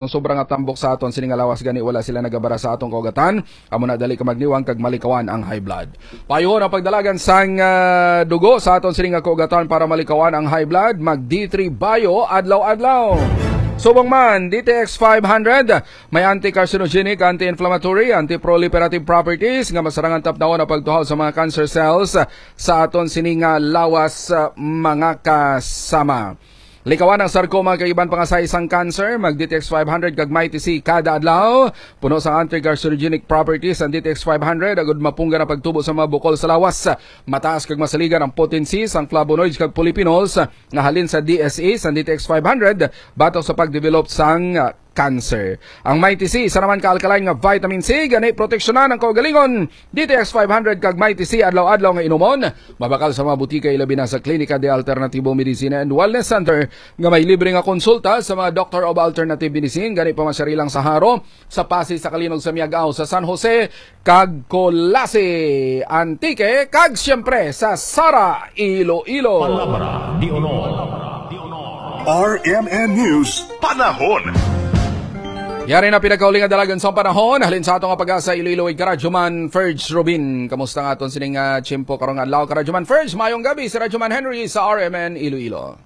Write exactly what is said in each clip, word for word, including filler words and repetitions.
Ang sobra nga tambok sa aton sini nga lawas, gani wala sila nagabara sa atong kaugatan. Amo na, dali ka magniwang kag malikawan ang high blood. Payuhon ang pagdalagan sang, ah, dugo sa aton sini nga kaugatan para malikawan ang high blood. Mag D three Bio adlaw-adlaw. Subong man, D T X five hundred, may anti-carcinogenic, anti-inflammatory, anti-proliferative properties nga masarangan tapnawon ang pagtuhaw sa mga cancer cells sa aton sini nga lawas, ah, mga kasama. Likawan ang sarcoma kag iban pa nga size sang cancer. Mag D T X five hundred kag Mighty C kada adlaw. Puno sang anti-carcinogenic properties ang D T X five hundred, agud mapunggan ang pagtubo sa mga bukol sa lawas. Mataas kag masaligan ang potency sang flavonoids kag polyphenols nga halin sa D S E sang D T X five hundred batok sa pagdevelop sang, ah, cancer. Ang Mighty C, isa naman ka alkaline nga vitamin C, gani proteksyonan ang kaugalingon. D T X five hundred kag Mighty C adlaw-adlaw nga inumon, mabakal sa mga butika, ilabi na sa Klinika de Alternativo Medicina and Wellness Center, nga may libre nga konsulta sa mga Doctor of Alternative Medicine, gani pa man sa Rilang, sa Jaro, sa Passi, sa Calinog, sa Miag-ao, sa San Jose, kag Culasi, Antique, kag siyempre sa Sara, Iloilo. Palabra de Honor. R M N News, Panahon. Yari na pinakauling nga dalagan sang panahon. Halin sa ato nga pag-asa, Iloilo, kay Karadyoman Ferge Rubin. Kamusta nga aton sining, ah, tiyempo karong adlaw, Karadyoman Ferge? Mayong gabi, si Radyoman Henry sa R M N Iloilo.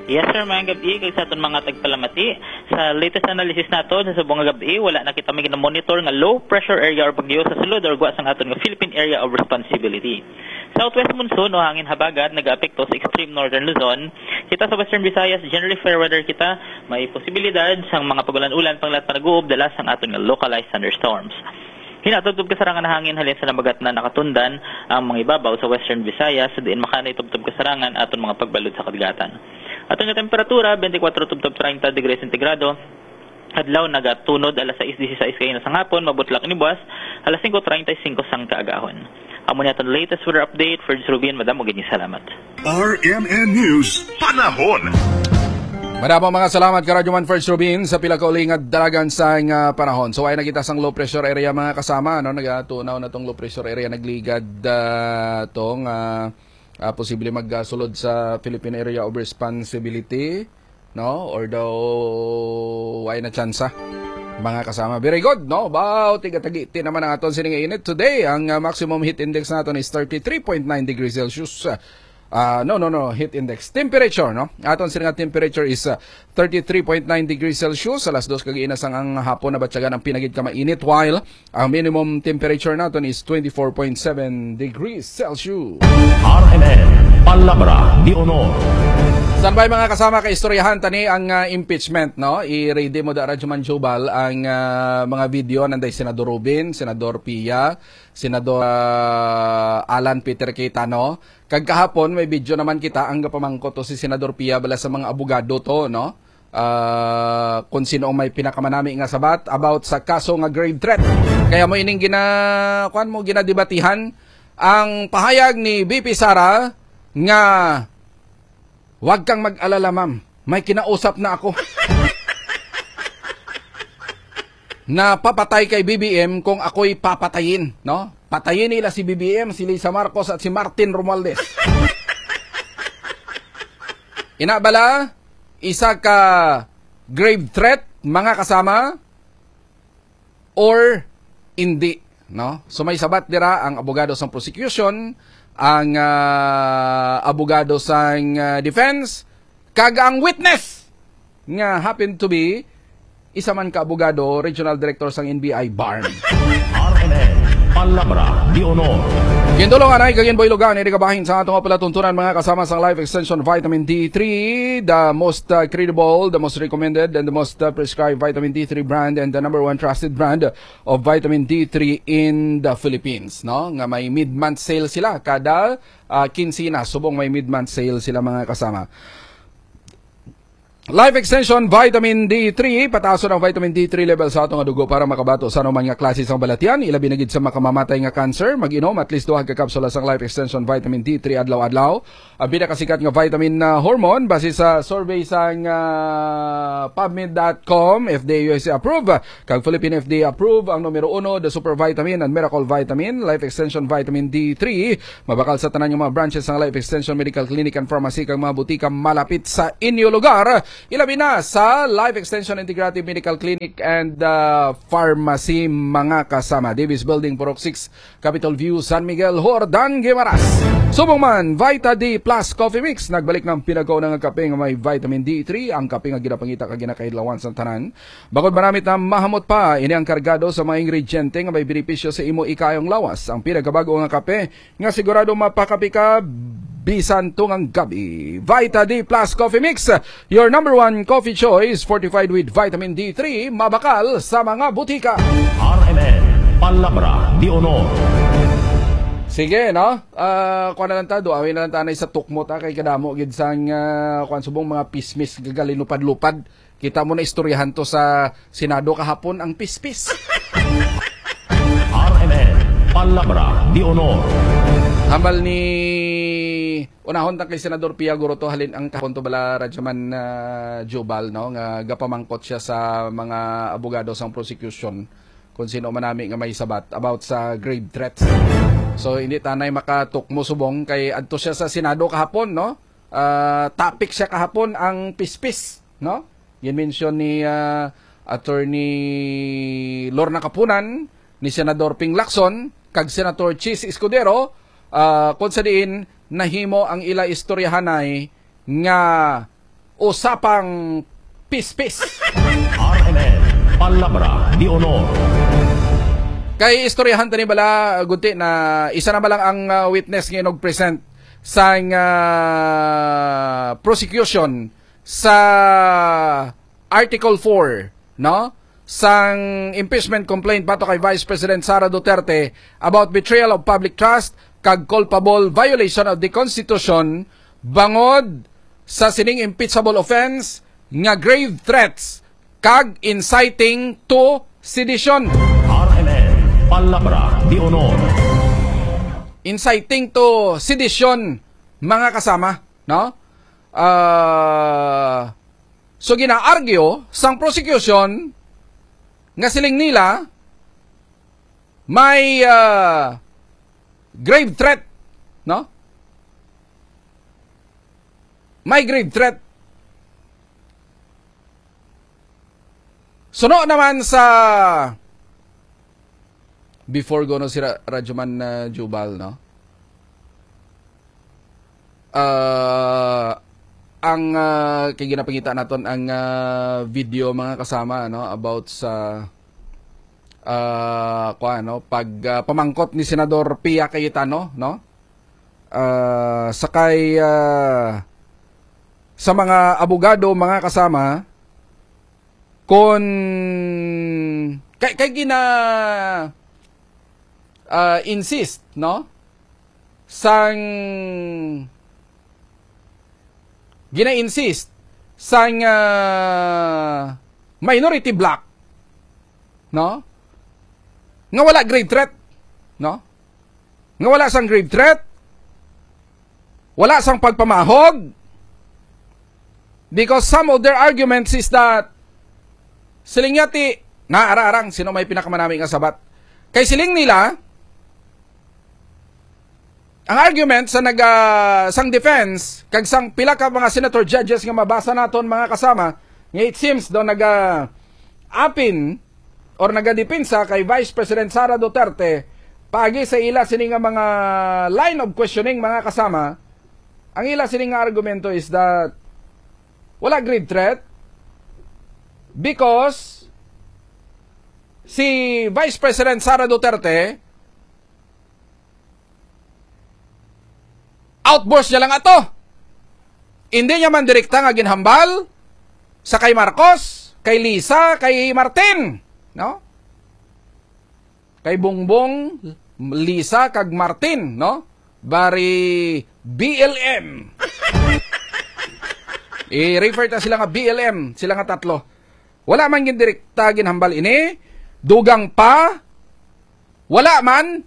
Yes, sir. Mayong gabi kag sa aton mga tagpalamati. Sa latest analysis nato sa subong nga gabi, wala na kita may gina-monitor nga low pressure area or bagyo sa sulod or gwa sang aton nga Philippine Area of Responsibility. Southwest monsoon o hangin habagat nagaapekto sa extreme northern Luzon. Kita sa Western Visayas, generally fair weather kita. May posibilidad sang mga pagulan-ulan, panglat panaguob, dala sang aton nga localized thunderstorms. Hinatubtob kasarangan nga hangin halin sa nabagat na nakatundan ang mga ibabaw sa Western Visayas, diin makanay tubtob kasarangan aton mga pagbalod sa kadagatan. Aton nga temperatura, twenty-four tubtob thirty degrees centigrado. Adlaw nagatunod alas sais dieciséis kaina sang hapon, mabutlak ini buwas alas singko treinta y cinco sang kaagahon. Amo ni aton latest weather update. Ferge Rubin, madamo gid nga salamat. R M N News, Panahon. Madamo mga salamat, Karadyoman Ferge Rubin, sa pila ka uli nga dalagan sang, ah, panahon. So, ay nakita sang low pressure area, mga kasama, no? Nagatunaw na tong low pressure area, nagligad, ah, tong, ah, ah, posible magsulod sa Philippine Area of Responsibility, no? Or daw, ay na tsansa, mga kasama. Very good, no? Wow, tigatagiti naman ang aton sining init today. Ang, ah, maximum heat index naton is thirty-three point nine degrees Celsius. Ah, no, no, no, heat index. Temperature, no? Aton sini nga temperature is, ah, thirty-three point nine degrees Celsius. Alas dos kag ina sang ang hapon, nabatyagan ang pinagid ka mainit, while ang minimum temperature naton is twenty-four point seven degrees Celsius. R M N, Palabra de Honor. Standby, mga kasama, kay istoryahan tani ang, ah, impeachment, no? I-ready mo da, Radyoman Jubal, ang, ah, mga video nanday Senador Rubin, Senador Pia, Senador, ah, Alan Peter Cayetano. Kag kahapon, may video naman kita ang gapamangkot to si Senador Pia bala sa mga abogado to, no? Ah, kung sino ang may pinakamanami nga sabat about sa kaso nga grave threat. Kaya mo ining gina-, kuwan mo, ginadebatihan ang pahayag ni V P Sara nga, "Wag kang mag-alala, ma'am. May kinausap na ako." Na papatay kay B B M kung ako'y papatayin, no? Patayin nila si B B M, si Lisa Marcos at si Martin Romualdez. Ina bala, isa ka grave threat, mga kasama, or hindi, no? So may sabat dira ang abogado sang prosecution, ang, ah, abogado sang, ah, defense, kag ang witness nga happen to be isa man ka abogado, regional director sang N B I BARMM. R M N, Palabra de Honor. Gintulong anay kag ginbuilogan ini kabahin sa ato nga palatuntunan, mga kasama, sang Life Extension Vitamin D three, the most, uh, credible, the most recommended, and the most, uh, prescribed vitamin D three brand, and the number one trusted brand of vitamin D three in the Philippines, no? Nga may mid-month sale sila kada, uh, kinsina, subong may mid-month sale sila, mga kasama. Life Extension Vitamin D three, pataason ang vitamin D three level sa ato nga dugo para makabato sa anuman nga klase sang balatian, ilabi na gid sa makamamatay nga cancer. Mag-inom at least duha ka kapsula sang Life Extension Vitamin D three adlaw-adlaw. Ang pinakasikat nga vitamin na hormone, base sa survey sang, ah, pubmed dot com, F D A U S A approved, kag Philippine F D A approved, ang numero uno, the super vitamin and miracle vitamin, Life Extension Vitamin D three. Mabakal sa tanan nga mga branches sang Life Extension Medical Clinic and Pharmacy kag mga butika malapit sa inyo lugar. Ilabi na sa Life Extension Integrative Medical Clinic and uh, Pharmacy, mga kasama. Davis Building, Purok six, Capitol View, San Miguel, Jordan, Guimaras. Subong man, Vita D Plus Coffee Mix. Nagbalik na ang pinagkauna nga kape nga may vitamin D three, ang kape nga ginapangita kag ginakailawan sa tanan. Bangod manamit na mahamot pa, ini ang kargado sa mga ingrediente nga may benepisyo sa imo ikayong lawas. Ang pinagkabago nga kape nga sigurado mapakapi ka bisan tungang gabi. Vita D Plus Coffee Mix, your number one coffee choice, fortified with vitamin D three, mabakal sa mga butika. R M N, Palabra de Honor. Sige, no? Ah, kuha na lang ta, duawin na lang ta na sa tukmot, ah, kay kadamo gid sang, ah, kuwan, subong mga pismis, gagalinupad-lupad. Kita mo na istoryahan to sa Senado kahapon ang pispis. R M N, Palabra de Honor. Hambal ni, unahon ta kay Senador Pia Guruto, halin ang kahapon to bala, Radyoman, ah, Jubal, no, nga gapamangkot siya sa mga abogado sang prosecution kung sino man nami nga may sabat about sa grave threats. So, hindi tanay makatukmo subong kay adto siya sa Senado kahapon, no? Ah, topic siya kahapon ang pispis, no? Gin-mention ni, ah, Attorney Lorna Kapunan, ni Senador Ping Lacson, kag Senator Chiz Escudero, ah, kung sa diin nahimo ang ila istoryahanay nga usapang pispis. R M N, Palabra de Honor. Kay istoryahan tani bala, gunti na isa na ba lang ang, ah, witness nga inog-present sang, ah, prosecution sa Article four, no? Sang impeachment complaint batok kay Vice President Sara Duterte about betrayal of public trust kag culpable violation of the Constitution bangod sa sining impeachable offense nga grave threats kag inciting to sedition. R M N, Palabra de Honor. Inciting to sedition, mga kasama, no? Ah, so gina-argue sang prosecution nga siling nila may, ah, grave threat, no? May grave threat. Suno naman sa before ko, no, si Ra-, Radyoman, ah, Jubal, no? Ah, ang, ah, kay ginapangita naton ang, ah, video, mga kasama, no, about sa, ah, kuwan, no, pag, ah, pamangkot ni Senador Pia Cayetano, no? Ah, sa kay, ah, sa mga abogado, mga kasama, kon kay, kay gina, ah, insist, no? Sang gina-insist sang, ah, minority bloc, no? Nga wala grave threat, no? Nga wala sang grave threat, wala sang pagpamahog, because some of their arguments is that, siling niya ti, naaraarang sino may pinakamanami nga sabat. Kay siling nila, ang argument sa naga, sang defense kag sang pila ka mga senator judges nga mabasa naton, mga kasama, nga it seems daw naga apin or nagadepensa kay Vice President Sara Duterte paagi sa ila sini nga mga line of questioning, mga kasama, ang ila sini nga argumento is that wala grave threat because si Vice President Sara Duterte, outburst niya lang ato. Hindi niya man direkta nga ginhambal sa kay Marcos, kay Lisa, kay Martin, no? Kay Bongbong, Lisa, kag Martin, no? Bari B L M. I-refer ta sila nga B L M, sila nga tatlo. Wala man gindirekta ginhambal ini, dugang pa, wala man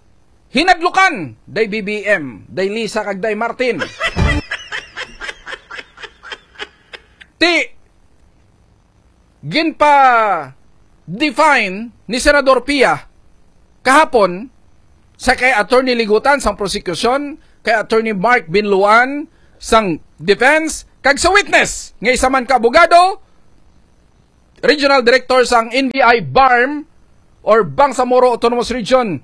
hinadlukan, day B B M, day Lisa kag day Martin. Ti, ginpa-define ni Senador Pia kahapon sa kay Attorney Ligutan sang prosecution, kay Attorney Mark Binluan sang defense, kag sa witness nga isa man ka abogado, regional director sang N B I BARMM or Bangsamoro Autonomous Region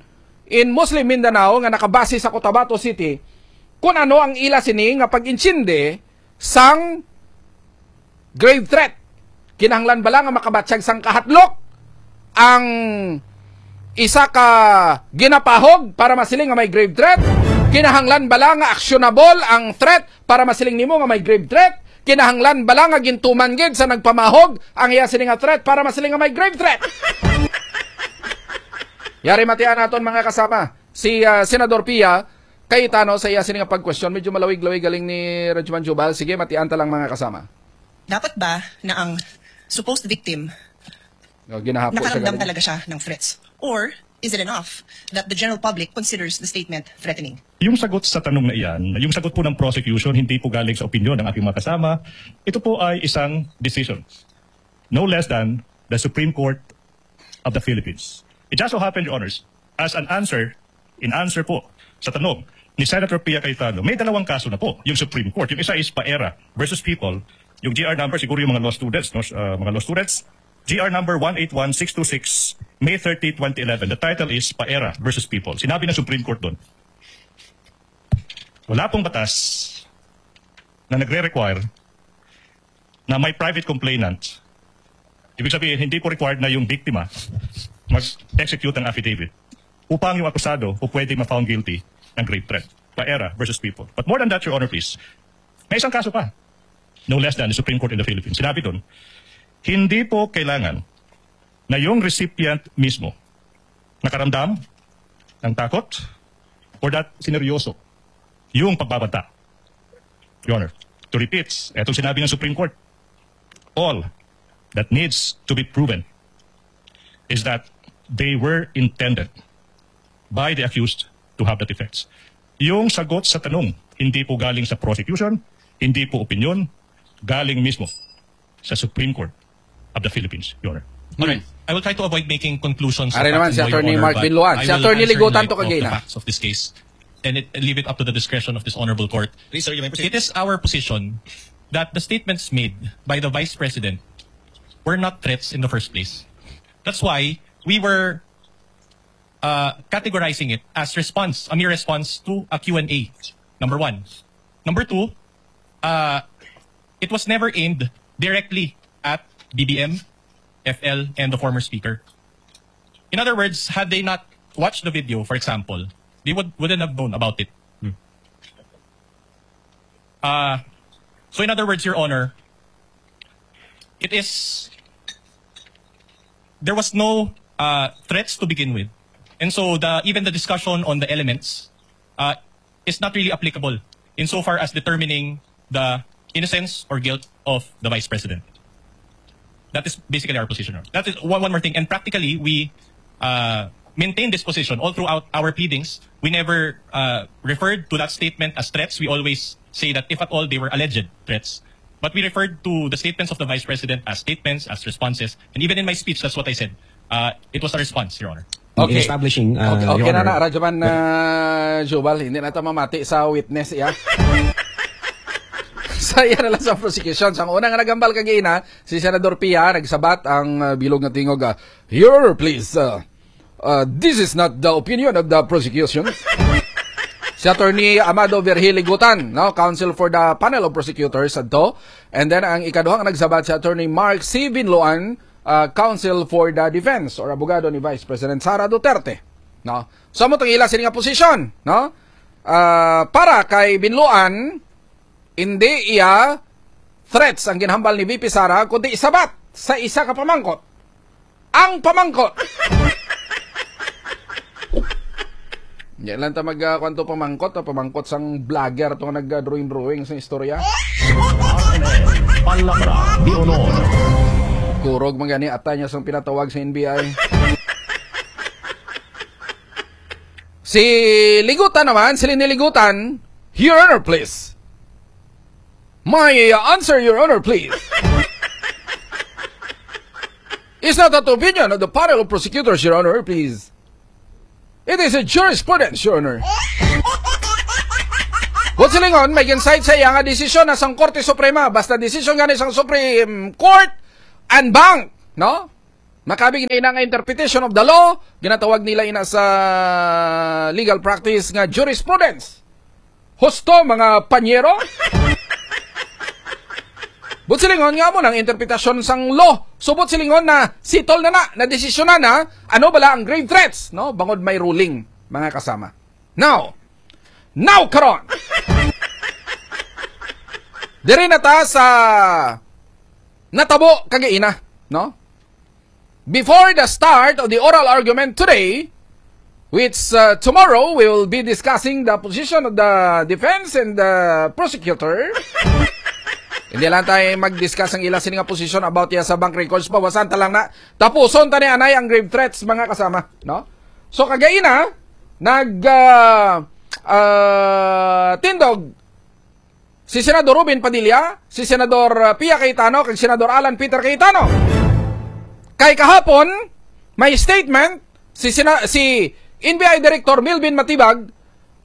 in Muslim Mindanao nga nakabase sa Cotabato City, kun ano ang ila sini nga pag-intsindi sang grave threat. Kinahanglan bala nga makabatyag sang kahadlok ang isa ka ginapahog para masiling nga may grave threat? Kinahanglan bala nga actionable ang threat para masiling nimo nga may grave threat? Kinahanglan bala nga gintuman gid sa nagpamahog ang iya sini nga threat para masiling nga may grave threat? Yari matian naton, mga kasama, si ah, Senador Pia Cayetano sa iya sini nga pagkwestiyon. Medyo malawig-lawig galing ni Rajman Jubal. Sige, matian ta lang, mga kasama. Dapat ba na ang supposed victim Oh, ginahapo siya nakaramdam galing. Talaga siya ng threats? Or is it enough that the general public considers the statement threatening? Yung sagot sa tanong na iyan, yung sagot po ng prosecution, hindi po galing sa opinion ng aking mga kasama. Ito po ay isang decision. No less than the Supreme Court of the Philippines. It just so happened, Your Honors, as an answer, in answer po sa tanong ni Senator Pia Cayetano, may dalawang kaso na po yung Supreme Court. Yung isa is Paera versus People. Yung G R number, siguro yung mga law students, no? Uh, mga law students, G R number one eight one six two six, May thirty, twenty eleven. The title is Paera versus People. Sinabi ng Supreme Court doon, wala pong batas na nagre-require na may private complainant. Ibig sabihin, hindi po required na yung biktima mag-execute ng affidavit upang yung akusado o pwede ma-found guilty ng grave threat. Paera versus People. But more than that, Your Honor, please, may isang kaso pa. No less than the Supreme Court in the Philippines. Sinabi doon, hindi po kailangan na yung recipient mismo nakaramdam ng takot or that sineryoso yung pagbabanta. Your Honor, to repeat, etong sinabi ng Supreme Court, all that needs to be proven is that they were intended by the accused to have that effects. Yung sagot sa tanong, hindi po galing sa prosecution, hindi po opinion, galing mismo sa Supreme Court of the Philippines, Your Honor. All right. I will try to avoid making conclusions. Are naman si Attorney Mark Binloan. Si Attorney Ligutan to kagina. Facts of this case and it, leave it up to the discretion of this honorable court. Please, sir, you may proceed. It is our position that the statements made by the Vice President were not threats in the first place. That's why we were uh, categorizing it as response, a mere response to a Q and A. Number one. Number two, uh, it was never aimed directly at B B M, F L, and the former speaker. In other words, had they not watched the video, for example, they would, wouldn't have known about it. Hmm. Uh, so in other words, Your Honor, it is, there was no uh, threats to begin with. And so the even the discussion on the elements uh, is not really applicable insofar as determining the innocence or guilt of the vice president. That is basically our position. That is one, one more thing. And practically, we uh, maintain this position all throughout our pleadings. We never uh, referred to that statement as threats. We always say that if at all they were alleged threats. But we referred to the statements of the vice president as statements, as responses. And even in my speech, that's what I said. Uh, it was a response, Your Honor. Okay. Establishing, uh, Okay, okay Your na na, Honor. Rajaman, uh, Jubal, hindi na ta mamati sa witness, iya. Sa iya na lang sa prosecution. Sa una nga nagambal kagina, si Senador Pia, nagsabat ang uh, bilog nga tingog, uh, "Your Honor, please, uh, uh, this is not the opinion of the prosecution." Si Attorney Amado Virgil Ligutan, no, counsel for the panel of prosecutors, adto. And then, ang ikaduhang nagsabat si Attorney Mark C. Binloan, uh, counsel for the defense or abogado ni Vice President Sara Duterte. No? So, amo tong ila sini nga posisyon, no? Ah, para kay Binloan, hindi iya threats ang ginhambal ni V P Sara, kundi sabat sa isa ka pamangkot. Ang pamangkot. Yan lang ta mag, ah, kwanto pamangkot, ah, pamangkot sang vlogger to nga nag-drawing-drawing sa istorya. Palabra de honor. Kurog man gani ata niya sang pinatawag sa N B I. Si Ligutan naman, si Lini Ligutan, Your Honor, please. My uh, answer, Your Honor, please. It's not the opinion of the panel of prosecutors, Your Honor, please. It is a jurisprudence, Your Honor. Buot silingon, may gin-cite sa iya nga desisyon na sang Korte Suprema. Basta desisyon gani sang Supreme Court, en banc, no? Makabig na ina nga interpretation of the law, ginatawag nila ina sa legal practice nga jurisprudence. Husto, mga panyero? Buot silingon nga amo nang interpretasyon sang law. So, buot silingon na settle na na, na desisyonan na, ano bala ang grave threats, no? Bangod may ruling, mga kasama. Now, now karon. Diri na ta sa natabo kagaina, no? Before the start of the oral argument today, which, uh, tomorrow we will be discussing the position of the defense and the prosecutor. Hindi lang tayo mag-discuss ang ila sini nga position about ya sa bank records. Bawasan ta lang na. Tapuson ta ni anay ang grave threats, mga kasama, no? So, kagaina, nag, ah, ah, tindog si Senador Robin Padilla, si Senador, ah, Pia Cayetano, kag Senador Alan Peter Cayetano. Kay kahapon, may statement si Sena-, si N B I Director Melvin Matibag,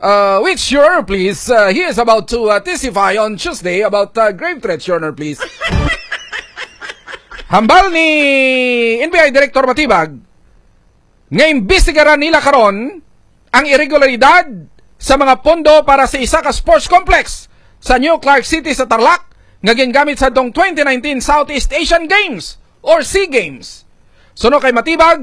uh, which, Your Honor, please, uh, he is about to, uh, testify on Tuesday about, uh, grave threats, Your Honor, please. Hambal ni N B I Director Matibag, nga imbestigaran nila karon ang irregularidad sa mga pondo para sa isa ka sports complex sa New Clark City sa Tarlac nga gingamit sa tong twenty nineteen Southeast Asian Games or SEA Games. Suno kay Matibag,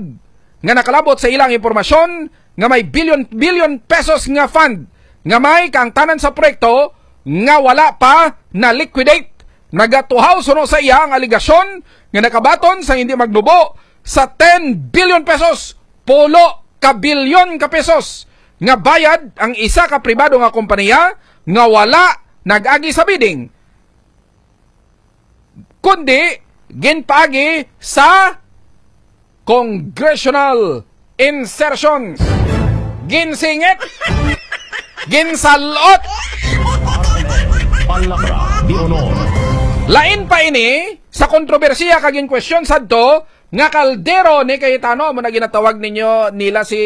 nga nakalabot sa ilang impormasyon nga may bilyon-bilyon pesos nga fund nga may kaangtanan sa proyekto nga wala pa na-liquidate. Nagatuhaw suno sa iya ang aligasyon nga nakabaton sa hindi magnubo sa ten billion pesos, pulo ka bilyon ka pesos, nga bayad ang isa ka pribado nga kompanya nga wala nag-agi sa bidding, kundi ginpaagi sa congressional insertions. Ginsingit. Ginsalot. Palabra de honor. Lain pa ini sa kontrobersiya kag in question sadto nga kaldero ni Cayetano, amo na ginatawag ninyo nila si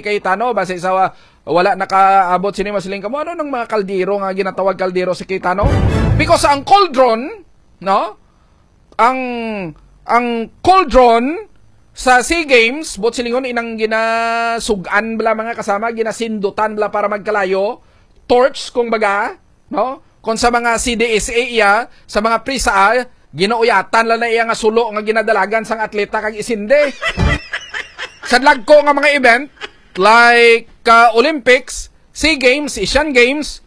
Cayetano, basi sa wa-, wala nakaabot sini, masiling kamo, ano nang mga kaldero nga ginatawag kaldero si Cayetano? Because ang cauldron, no? Ang, ang cauldron sa SEA Games, buot silingon, inang ginasugan bala, mga kasama, ginasindutan bala para magkalayo, torch, kung baga, no? Kung sa mga C D S A iya, sa mga prisa, ah, ginauyatan lang na iya nga sulo nga ginadalagan sang atleta kag isindi. Sa dagko nga mga event, like, ah, Olympics, SEA Games, Asian Games,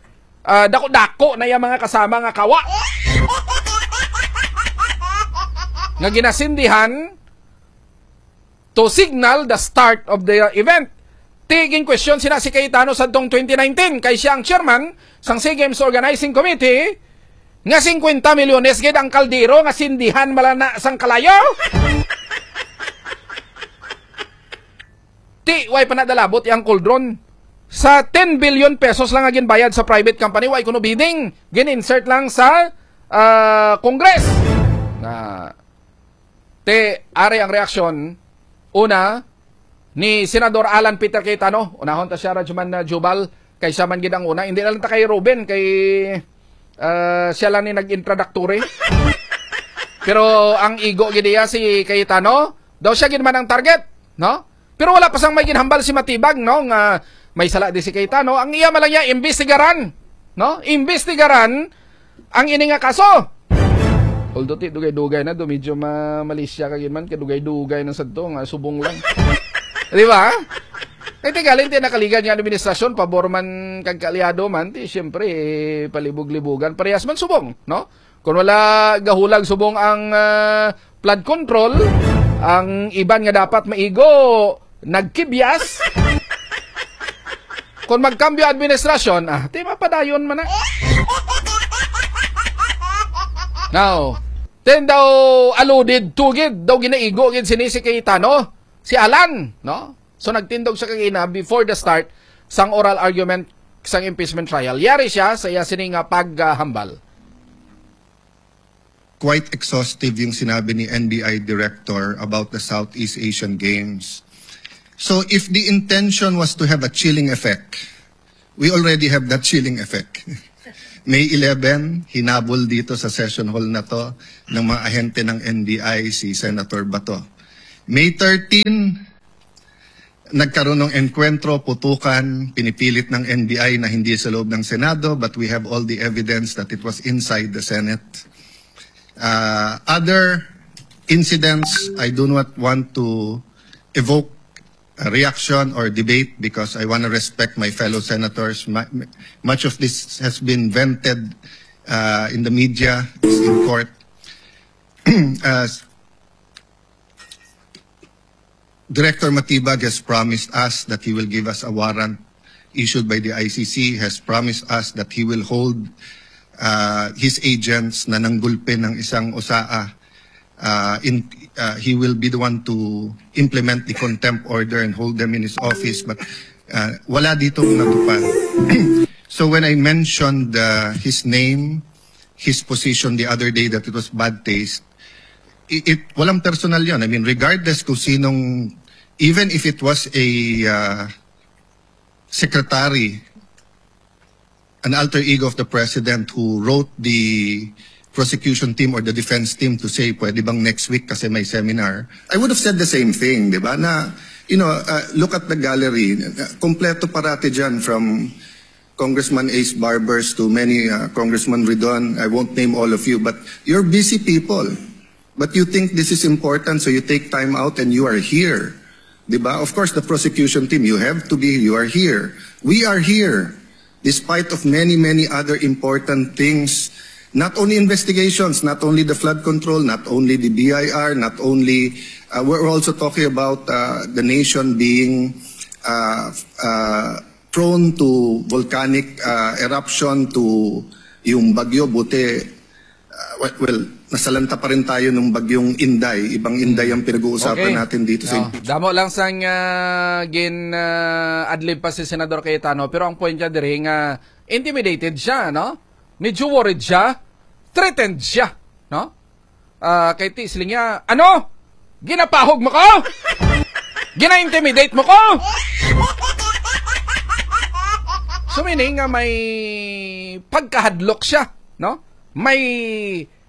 ah, dako-dako na iya mga kasama nga kawa nga ginasindihan to signal the start of the event. Ti, gin-question sina si Cayetano sadtong twenty nineteen, kay siya ang chairman sang SEA Games Organizing Committee, nga fifty milyones gid ang kaldero nga sindihan bala na sang kalayo. Ti, way pa nadalabot yang cauldron. Sa ten billion pesos lang nga ginbayad sa private company, way kuno bidding. Gin-insert lang sa, ah, Congress. Na, ti, ari ang reaksyon, una, ni Senador Alan Peter Cayetano. Unahon ta siya, Rajman, ah, Jubal, kay siya man gid ang una. Hindi na lang ta kay Ruben, kay, ah, siya lang ni nag-introductory. Pero ang igo gid iya si Cayetano, daw siya gid man ang target, no? Pero wala pa sang may ginhambal si Matibag, no, nga may sala di si Cayetano. Ang iya man lang niya, imbestigaran, no? Imbestigaran ang ini nga kaso. Although ti dugay-dugay na do, medyo ma malisya ka gid man, kay dugay-dugay na sad to, nga subong lang. Di ba? Kay ti galing ti nakaligad nga administrasyon, pabor man kag kaalyado man, ti siyempre, eh, palibog-libugan, parehas man subong, no? Kung wala gahulag subong ang, ah, flood control, ang iban nga dapat maigo, nagkibyas. Kung magkambyo administrasyon, ah, ti mapadayon man na. Now, then daw alluded to gid, daw ginaigo gid sini si Cayetano, si Alan, no? So, nagtindog siya kagina before the start sang oral argument sang impeachment trial. Yari siya sa iya sini nga paghambal. Quite exhaustive yung sinabi ni N B I Director about the Southeast Asian Games. So if the intention was to have a chilling effect, we already have that chilling effect. May eleven, hinabol dito sa session hall na 'to ng mga ahente ng N B I si Senator Bato. May thirteen, nagkaroon ng engkwentro, putukan, pinipilit ng N B I na hindi sa loob ng Senado, but we have all the evidence that it was inside the Senate. Uh, other incidents, I do not want to evoke a reaction or debate because I want to respect my fellow senators. Mu-, much of this has been vented uh, in the media, is in court. Uh, Director Matibag has promised us that he will give us a warrant issued by the I C C, has promised us that he will hold uh, his agents na nanggulpe ng isang OSAA. Uh, in, uh, he will be the one to implement the contempt order and hold them in his office, but uh, wala ditong natupad. So when I mentioned uh, his name, his position the other day that it was bad taste, it, it walang personal 'yon. I mean, regardless kung sinong, even if it was a uh, secretary, an alter ego of the president who wrote the prosecution team or the defense team to say, "Pwede bang next week kasi may seminar?" I would have said the same thing, di ba? Na, you know, uh, look at the gallery. Uh, kompleto parati dyan, from Congressman Ace Barbers to many uh, Congressman Ridon. I won't name all of you, but you're busy people. But you think this is important, so you take time out and you are here. Di ba? Of course, the prosecution team, you have to be, you are here. We are here, despite of many, many other important things. Not only investigations, not only the flood control, not only the B I R, not only, uh, we're also talking about uh, the nation being uh, uh, prone to volcanic uh, eruption, to yung bagyo, buti, uh, well, well, nasalanta pa rin tayo ng bagyong Inday. Ibang Inday ang pinag-uusapan Okay. natin dito sa Oh, impeachment. Damo lang sang ah, gin ah, adlib pa si Senador Cayetano, pero ang point niya diri nga intimidated siya, no? Medyo worried siya, threatened siya, no? Ah, kay ti siling niya, "Ano? Ginapahog mo ko? Gina-intimidate mo ko?" So meaning nga may pagkahadlok siya, no? May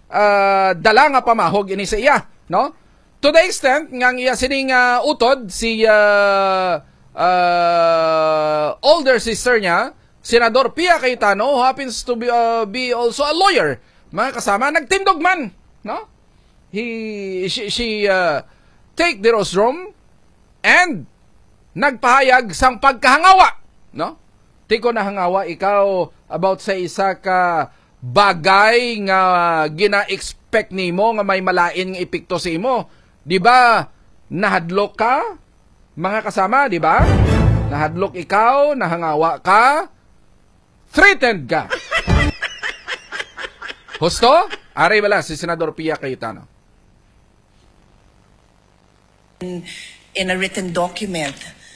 ah, dala nga pamahog ini sa iya, no? To the extent nga ang iya sining ah, utod, si ah, ah, older sister niya, Senador Pia Cayetano, who happens to be, ah, be also a lawyer, mga kasama, nagtindog man, no? He, she, she ah, take the rostrum and nagpahayag sang pagkahangawa, no? Ti kon nahangawa ikaw about sa isa ka bagay nga gina-expect nimo nga may malain nga epekto sa imo, di ba? Nahadlok ka, mga kasama, di ba? Nahadlok ikaw, nahangawa ka, threatened ka. Husto? Ari bala si Senador Pia Cayetano. In a written document.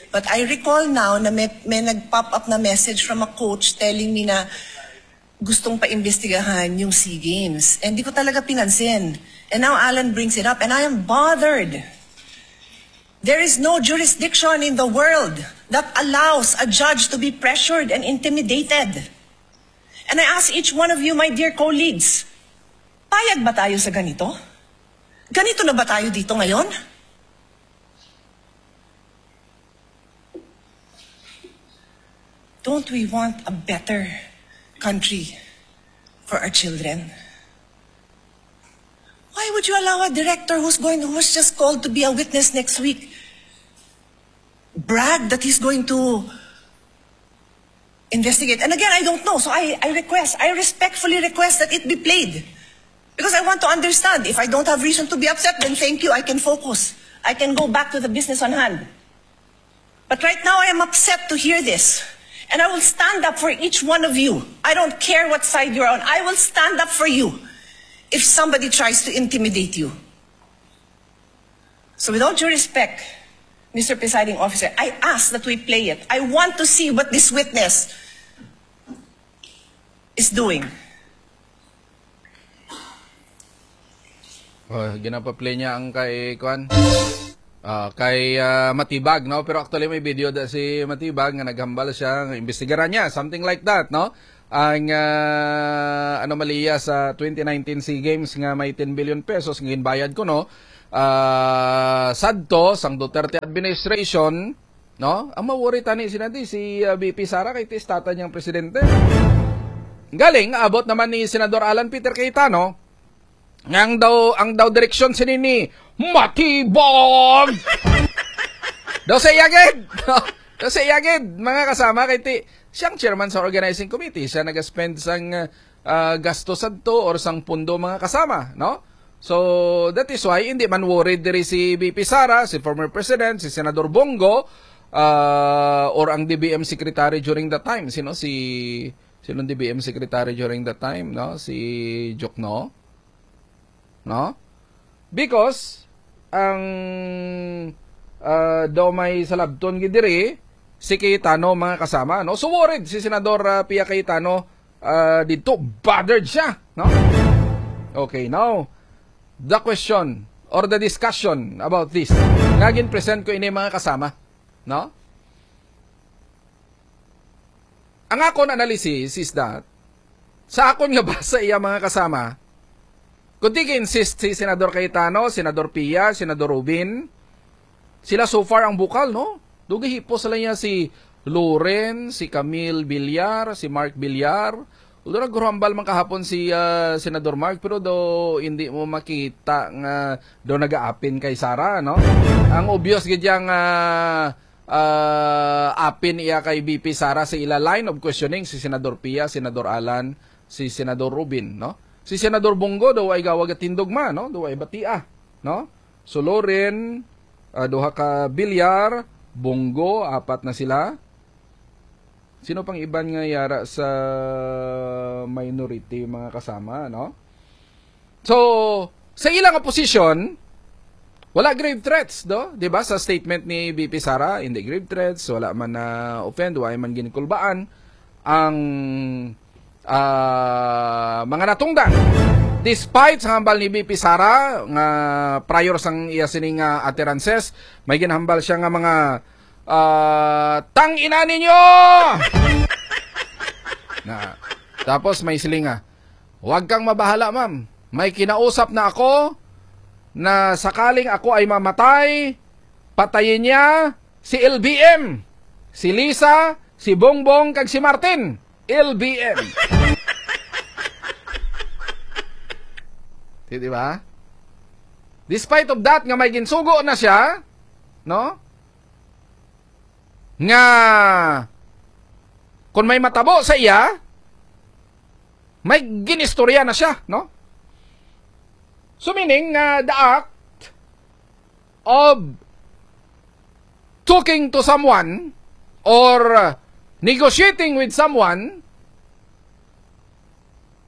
But I recall now na may, may nag-pop up na message from a coach telling me na gustong paimbestigahan yung SEA Games. And di ko talaga pinansin. And now Alan brings it up and I am bothered. There is no jurisdiction in the world that allows a judge to be pressured and intimidated. And I ask each one of you, my dear colleagues, payag ba tayo sa ganito? Ganito na ba tayo dito ngayon? Don't we want a better country for our children? Why would you allow a director who's going, who's just called to be a witness next week, brag that he's going to investigate? And again, I don't know. So I, I request, I respectfully request that it be played. Because I want to understand. If I don't have reason to be upset, then thank you. I can focus. I can go back to the business on hand. But right now, I am upset to hear this. And I will stand up for each one of you. I don't care what side you're on. I will stand up for you if somebody tries to intimidate you. So with all due respect, Mister Presiding Officer, I ask that we play it. I want to see what this witness is doing. Oh, ginapa-play niya ang kay, kuan? Ah, kay ah, Matibag, no? Pero actually may video da si Matibag nga naghambal siya, nga imbestigaran niya, something like that, no? ang, ah, anomalya sa twenty nineteen SEA Games nga may ten billion pesos nga ginbayad kuno, ah, sadto sang Duterte administration, no? Ang ma-worry tani sina di si, ah, V P Sara kay ti istata niyang presidente. Galing, abot naman ni Senador Alan Peter Cayetano, nga ang daw, ang daw direksyon sini ni Matibag. Daw sa iya gid. Daw sa iya gid, mga kasama, kay ti, siyang chairman sa organizing committee, siya nag-spend sang, ah, gasto sadto or sang pundo, mga kasama, no? So, that is why hindi man worried diri si V P Sara, si former president, si Senador Bong Go, ah, or ang D B M secretary during that time, sino si, sino ang D B M secretary during that time, no? Si Jokno, no? Because ang, ah, daw may salabton gid diri si Cayetano, mga kasama, no? So worried si Senador, ah, Pia Cayetano, ah, dito, bothered siya, no? Okay, now, the question or the discussion about this, nga gin-present ko ini, mga kasama, no? Ang akon analysis is that, sa akon nga basa, iya, mga kasama, kung di insist si Senador Cayetano, Senador Pia, Senador Rubin, sila so far ang bukal, no? Dugay hipos sila niya si Loren, si Camille Villar, si Mark Villar. Although naghuhambal man kahapon si, ah, Senador Mark, pero do hindi mo makita nga do nagaapin kay Sara, no? Ang obvious gid yang, ah, ah, apin iya kay V P Sara sa ila line of questioning, si Senador Pia, Senador Alan, si Senador Rubin, no? Si Senador Bong Go daw ay gawag at tindog ma, no? Daw ay batia, no? So, Loren, ah, duha ka Villar, Bong Go, apat na sila. Sino pang iban nga yara sa minority, mga kasama, no? So, sa ila nga posisyon, wala grave threats, do? Di ba? Sa statement ni V P Sara, hindi grave threats, wala man na offend, wala man ginikulbaan ang, ah, mga natungdan. Despite sa hambal ni V P Sara nga prior sang iya sining, ah, utterances, may ginhambal siya nga mga, ah, "Tang ina ninyo!" Na, tapos may siling nga, "Huwag kang mabahala, ma'am. May kinausap na ako na sakaling ako ay mamatay, patayin niya si L B M, si Lisa, si Bongbong, kag si Martin." L B M. Di, di ba? Despite of that, nga may ginsugo na siya, no? Nga kung may matabo sa iya, may ginistorya na siya, no? So, meaning nga the act of talking to someone or negotiating with someone,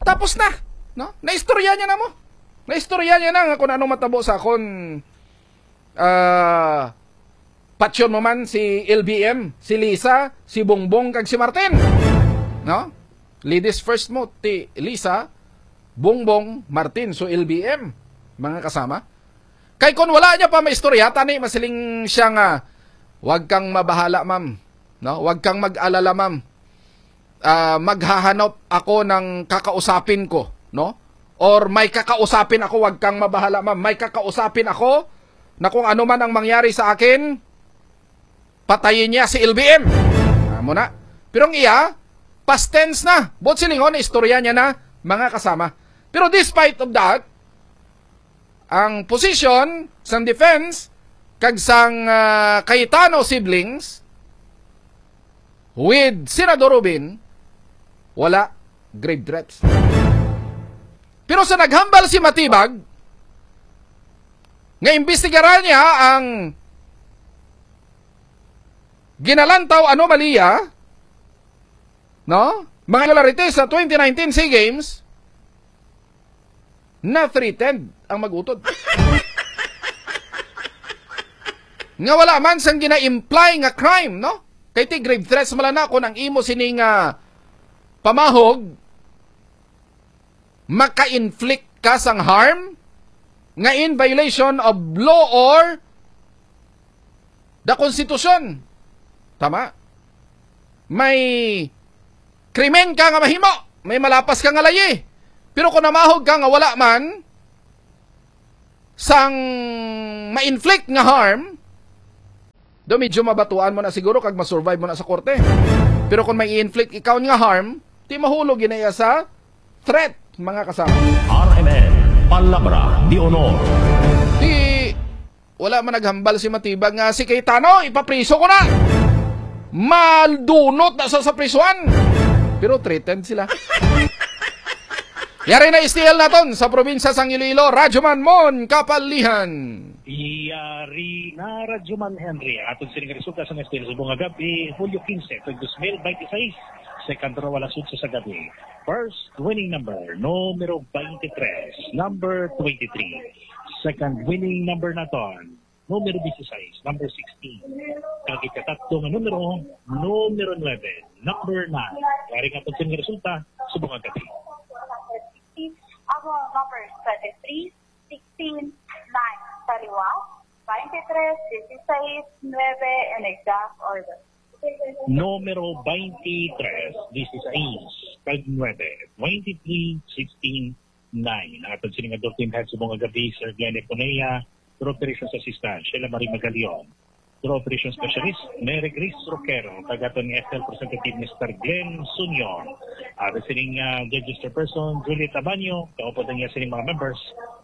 tapos na, no? Naistorya niya na mo. Naistorya niya na nga kung anong matabo sa akon, ah, patyon mo man si L B M, si Lisa, si Bongbong, kag si Martin. No? Ladies first mo, ti Lisa, Bongbong, Martin, so L B M, mga kasama. Kay kung wala niya pa maistorya, tani masiling siya nga, "Wag kang mabahala, ma'am. No? Wag kang mag-alala, ma'am. Ah, maghahanap ako ng kakausapin ko, no? Or may kakausapin ako, wag kang mabahala, ma'am. May kakausapin ako na kung ano man ang mangyari sa akin, patayin niya si L B M." Amo na. Pero ang iya, past tense na. Buot silingon, istorya niya na, mga kasama. Pero despite of that, ang position sang defense kag sang, ah, Cayetano siblings with Senador Rubin, wala grave threats. Pero sa naghambal si Matibag nga imbestigaran niya ang ginalantaw anomalya, no? Mga irregularities sa twenty nineteen SEA Games, na-threatened ang mag-utod. Nga wala man sang gina-imply nga crime, no? Kay ti grave threats man lang na kung ang imo sini nga pamahog maka-inflict ka sang harm nga in violation of law or the Constitution. Tama? May krimen ka nga mahimo, may malapas ka nga layi. Pero kung namahog ka nga wala man sang ma-inflict nga harm, do medyo mabatuan mo na siguro kag ma-survive mo na sa korte. Pero kung may i-inflict ikaw nga harm, ti mahulog gina iya sa threat, mga kasama. R M N, Palabra de Honor. Di wala man naghambal si Matibag nga si Cayetano, ipapriso ko na. Madunot na sa, sa prisuan. Pero threatened sila. Yari na S T L naton sa probinsya sang Iloilo, Radyo Man Mon Kapalihan. Yari na, Radyo Man Henry. Aton sining resulta sa S T L subong nga gab-i, Hulyo quince, tuig dos mil veintiseis, second row alas otso sa gabi. First winning number, numero twenty-three, number twenty-three. Second winning number naton, numero dieciséis, number sixteen. Kag ikakatlo nga numero, numero nuebe, number nine. Yari nga pagsin nga resulta, subong nga gab-i. Ako, number twenty-three, sixteen, nine. Sa liwa, twenty-three, dieciséis, nuebe, in exact order. Numero twenty-three, dieciséis, kag nuebe, twenty-three, sixteen, nine. Ang aton sining adult team head subong nga gab-i, Sir Glenn Eponea, Pro Operations Assistant, Sheila Marie Magalion, Pro Operations Specialist, Mary Grace Roquero, kag aton nga F L Representative, Mister Glenn Sunior. Aton sining, ah, registered person, Juliet Abanyo, kaupod niya sining mga members,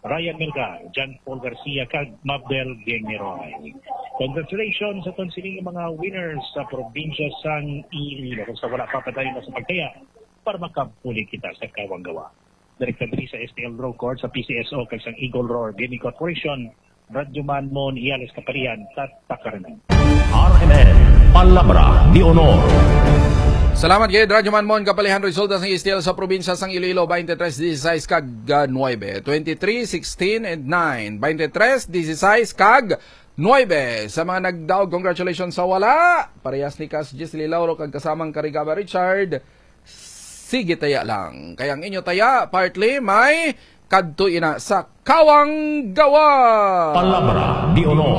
Ryan Melgar, John Paul Garcia, kag Mabel Geniroy. Congratulations sa aton sining mga winners sa probinsya sang Iloilo. Kung sa wala pa, padayon na sa pagtaya para makapuli kita sa kawang gawa. Direkta diri sa S T L Draw Court sa P C S O kag sang Eagle Roar Gaming Corporation, Radyo Man Mon Iales Kapalian, Tatak Karanan. R M N, Palabra de Honor. Salamat kay Radyo Man Mon Kapalihan. Resulta sang S T L sa probinsya sang Iloilo, twenty-three, dieciséis kag, ah, nuebe. Twenty-three, sixteen, and nine. Twenty-three, dieciséis kag nuebe. Sa mga nagdaog, congratulations. Sa wala, parehas ni Kas Gisli Lauro kag kasamang Karigaba Richard, sige taya lang. Kay ang inyo taya, partly may kadto ina sa kawang gawa. Palabra de Honor.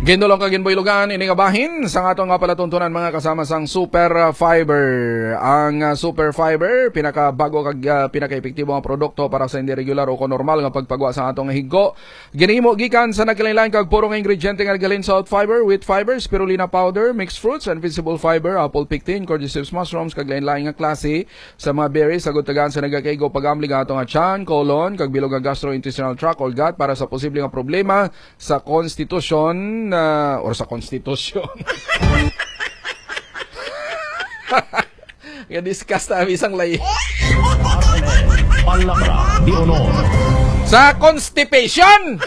Ginulong kag ginbuylogan ini nga bahin sang aton nga palatuntunan, mga kasama sang Super Fiber. Ang, ah, Super Fiber, pinakabago kag, ah, pinakaepektibo nga produkto para sa hindi regular o kon normal nga pagpagwa sa aton nga higko. Ginhimo gikan sa nagkalain-lain kag puro nga ingrediente nga naghalin sa oat fiber, wheat fiber, spirulina powder, mixed fruits, invisible fiber, apple pectin, cordyceps mushrooms, kag lain-lain nga klase sa mga berries, agud tagaan sa nagakaigo pag-amli nga ato nga tiyan, colon, kag bilog nga gastrointestinal tract or gut para sa posible nga problema sa konstitusyon, ah, or sa konstitusyon. Nga discuss na bisang lay. Palabra de Honor. Sa constipation!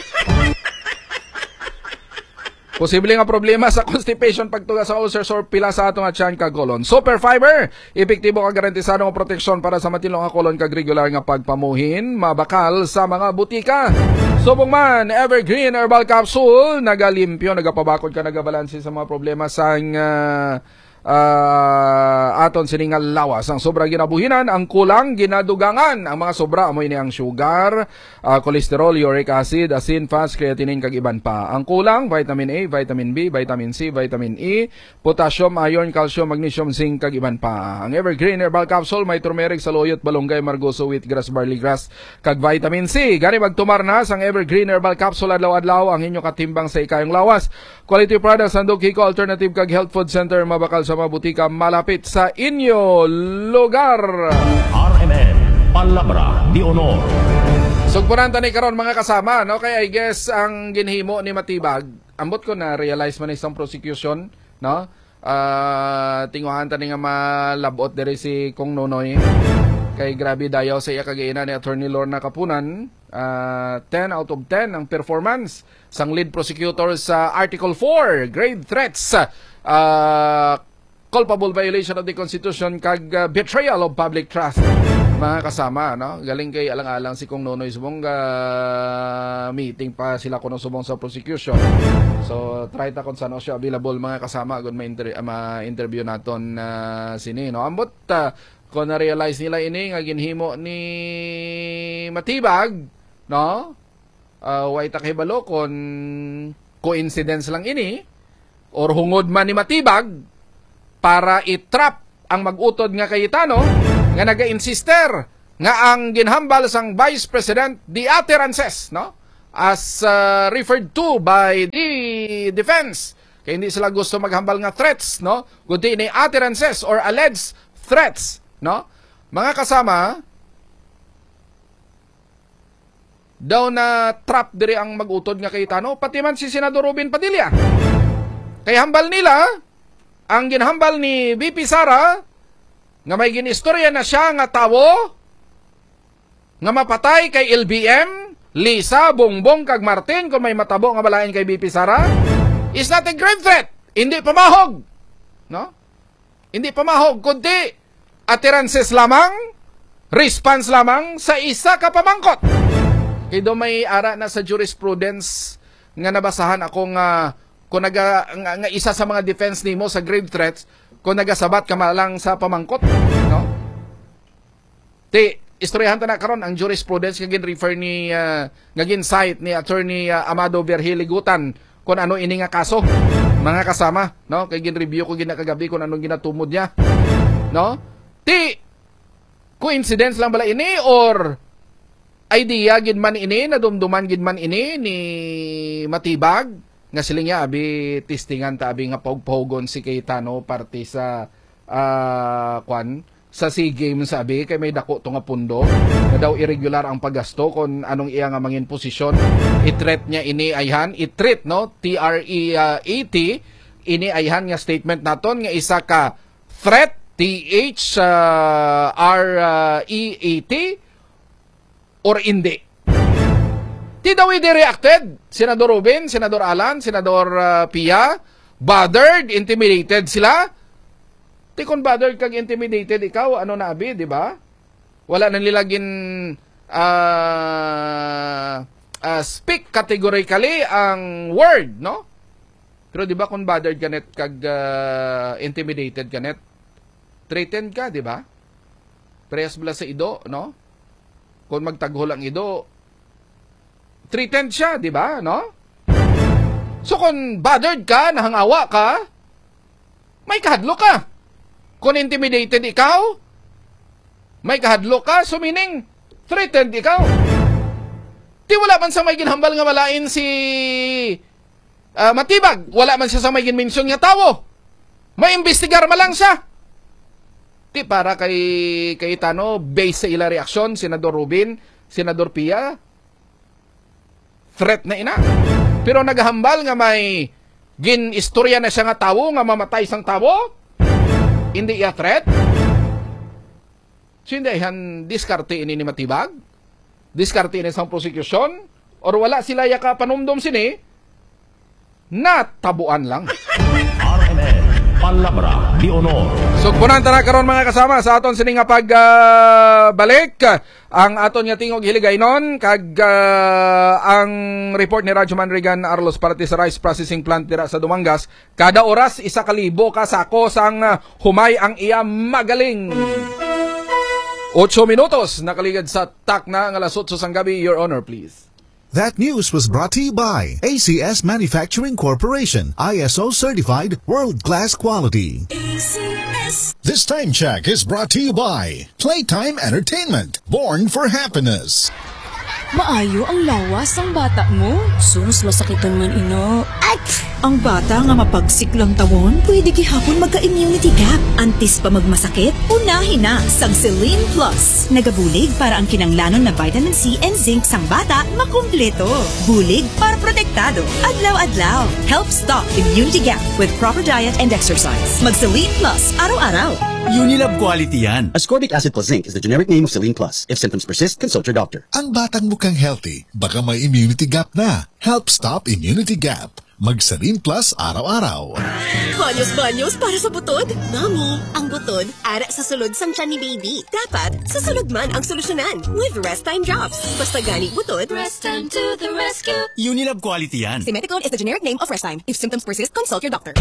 Posible nga problema sa constipation, pagtuga sa ulcers or pila sa ato nga tiyan kag colon. Super Fiber, epektibo kag garantisado nga proteksyon para sa matinlo nga colon kag regular nga pagpamuhin, mabakal sa mga butika. Subong man, Evergreen Herbal Capsule, nagalimpyo, nagapabakod kag nagabalanse sa mga problema sang, ah, ah, aton sini nga lawas. Ang sobra ginabuhinan, ang kulang ginadugangan. Ang mga sobra amo ini ang sugar, ah, cholesterol, uric acid, asin, fats, creatinine, kag iban pa. Ang kulang, vitamin A, vitamin B, vitamin C, vitamin E, potassium, iron, calcium, magnesium, zinc, kag iban pa. Ang Evergreen Herbal Capsule may turmeric, saluyot, balunggay, margoso, wheatgrass, barley grass, kag vitamin C. Gani, magtumar na sang Evergreen Herbal Capsule adlaw-adlaw, ang inyo katimbang sa ikayong lawas. Quality products, Handog Hico Alternative kag Health Food Center, mabakal sa mga butika malapit sa inyo lugar. R M N, Palabra de Honor. Sugpunan ta ni karon, mga kasama, no? Kay I guess ang ginhimo ni Matibag, ambot ko na-realize man isang prosecution, no? Ah, tinguhaan ta ni nga malabot diri si Kong Nonoy. Kay grabe dayaw sa iya kag ina ni Attorney Lorna Kapunan. Ah, ten out of ten ang performance sang lead prosecutor sa Article four, grave threats, ah, culpable violation of the Constitution, kag, ah, betrayal of public trust. Mga kasama, no? Galing kay alang-alang si Kong Nonoy subong ga meeting pa sila kuno subong sa prosecution. So, try ta kung saan siya available, mga kasama, kung ma-inter-, ah, ma-interview naton, ah, sini, no? Ambot, ah, kung na-realize nila ini nga ginhimo ni Matibag, no? Ah, way ta kahibalo kung coincidence lang ini or hungod man ni Matibag, para i-trap ang mag-utod nga Cayetano nga naga-insister nga ang ginhambal sang Vice President di utterances, no? As, uh, referred to by the defense. Kay hindi sila gusto maghambal nga threats, no? Kundi ni utterances or alleged threats, no? Mga kasama, daw na trap diri ang mag-utod nga Cayetano, pati man si Senador Robin Padilla. Kay hambal nila, ang ginhambal ni V P Sara, nga may ginistorya na siya nga tawo nga mapatay kay L B M, Lisa, Bongbong, kag Martin, kung may matabo nga balain kay V P Sara, is not a grave threat. Hindi pamahog. No? Hindi pamahog, kundi utterances lamang, response lamang sa isa ka pamangkot. Kay do may ara na sa jurisprudence nga nabasahan ako nga kung naga, nga, nga isa sa mga defense nimo sa grave threats, kung nagasabat ka man lang sa pamangkot, no? Ti, istoryahan ta na karon ang jurisprudence nga gin-refer ni, ah, nga gin-cite ni Attorney, ah, Amado Virgiligutan kung ano ini nga kaso, mga kasama, no? Kay gin-review ko gina kagabi kung anong ginatumod niya, no? Ti, coincidence lang bala ini or idea gid man ini, nadumduman gid man ini ni Matibag nga siling niya, abi, testingan ta, abi, nga pahugpahugon si Cayetano parte sa, ah, kwan, sa SEA Games, abi, kay may dako to nga pundo nga daw irregular ang paggasto kon anong iya nga mangin posisyon. I-threat niya ini ayhan, i-threat, no? T R E, ah, A T, ini ayhan nga statement naton nga isa ka threat, T H, ah, R, ah, E A T, or indi. Ti daw hindi reacted, Senador Robin, Senador Alan, Senador, ah, Pia, bothered, intimidated sila. Ti kung bothered kag intimidated ikaw, ano na abi, di ba? Wala na nila gin, ah, ah, speak categorically ang word, no? Pero di ba kung bothered ka net kag, ah, intimidated ka net, threatened ka, di ba? Parehas bala sa ido, no? Kung magtaghol ang ido, threatened siya, di ba, no? So kung bothered ka, nahangawa ka, may kahadlok ka. Kung intimidated ikaw, may kahadlok ka, so meaning, threatened ikaw. Ti wala man sa may ginhambal nga malain si, ah, Matibag, wala man siya sa may ginmention nga tawo. May imbestigar man lang siya. Ti para kay Cayetano, based sa ila reaksyon, Senador Robin, Senador Pia, threat na ina. Pero naghambal nga may gin-istorya na siya nga tawo nga mamatay sang tawo, hindi iya threat. So, hindi ayhan diskarte ini ni Matibag? Diskarte ini sang prosecution? Or wala sila ya kapanumdom sini? Natabuan lang. R M N, Palabra de Honor. Sugpunan ta na karon, mga kasama, sa aton sini nga pag, ah, balik. Ang aton nga tingog hiligaynon kag, ah, ang report ni Radyo Man Regan Arlos parte sa rice processing plant dira sa Dumangas. Kada oras, isa ka libo ka sako sang, ah, humay ang iya magaling. Ocho minutos nakaligad sa takna nga alas otso sang gabi. Your Honor, please. That news was brought to you by A C S Manufacturing Corporation, I S O certified, world-class quality. A C S. This time check is brought to you by Playtime Entertainment, born for happiness. Maayo ang lawas sang bata mo? Sus, masakiton man ina. At ang bata nga mapagsik lantawon, pwede gihapon magka-immunity gap. Antes pa magmasakit, unahi na sang Celine Plus. Nagabulig para ang kinanglanon na vitamin C and zinc sang bata makumpleto. Bulig para protektado adlaw-adlaw. Help stop immunity gap with proper diet and exercise. Mag Celine Plus araw-araw. Unilab quality yan. Ascorbic acid plus zinc is the generic name of Celine Plus. If symptoms persist, consult your doctor. Ang batang mukhang healthy, baka may immunity gap na. Help stop immunity gap. Mag Celine Plus araw-araw. Banyos-banyos para sa butod? Nami, ang butod ara sa sulod sang tiyan ni baby. Dapat sa sulod man ang solusyonan with Rest Time Drops. Basta gani butod, Rest Time to the rescue. Unilab quality yan. Simeticone is the generic name of Rest Time. If symptoms persist, consult your doctor.